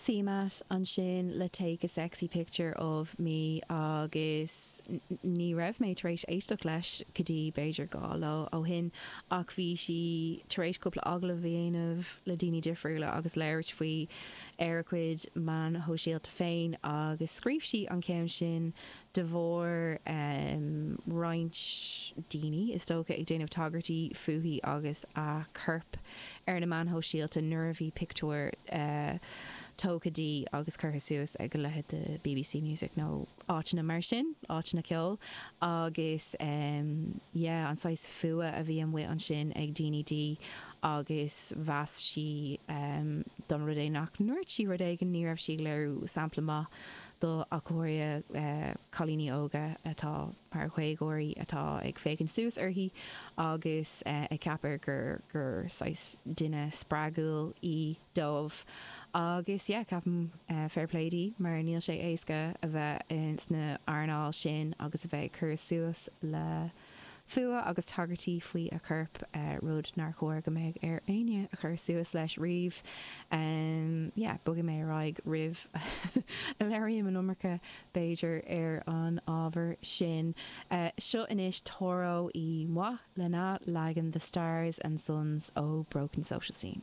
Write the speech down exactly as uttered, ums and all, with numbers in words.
CMAT ansin le take a sexy picture of me agus ní raibh mé tar éis éisteacht leis go dtí b'fhéidir dhá lá ó shin ach bhí sí tar éis cúpla agallamh a dhéanamh le daoine difriúla agus labhairt faoi ar a cuid meán sóisialta féin agus scríobh sí an ceann sin de bharr um, roinnt daoine is dócha ag déanamh tagairtí fúithi agus a corp ar na meáin shóisialta nuair a bhí pictiúr uh, tógtha di agus curtha suas ag leithéid de BBC Music nó áiteanna mar sin áiteanna ceoil agus um, yeah, an saghas fuath a bhí amuigh ansin ag daoine di agus mheas sí um, don rud é nach ndúirt sí rud éigin ní raibh sí ag léiriú sampla maith do achóir uh, cailíní óga atá mar dhéagóirí atá ag féachaint suas uirthi agus uh, ag ceapadh gur gur saghas duine spreagúil í dóibh. Agus yeah, ceapaim uh, fair play di mar níl sé éasca a bheith in sna earnáil sin agus a bheith cur suas le fuath agus tagairtí faoi a corp uh, rud nár chóir go mbeadh ar éinne a chur suas leis riamh. Um, yeah, bogfaidh mé ar aghaidh roimh a labhraím an iomarca b'fhéidir ar an ábhar sin. Uh, seo anois Toro y Moi lena leagan The Stars and Sons ó Broken Social Scene.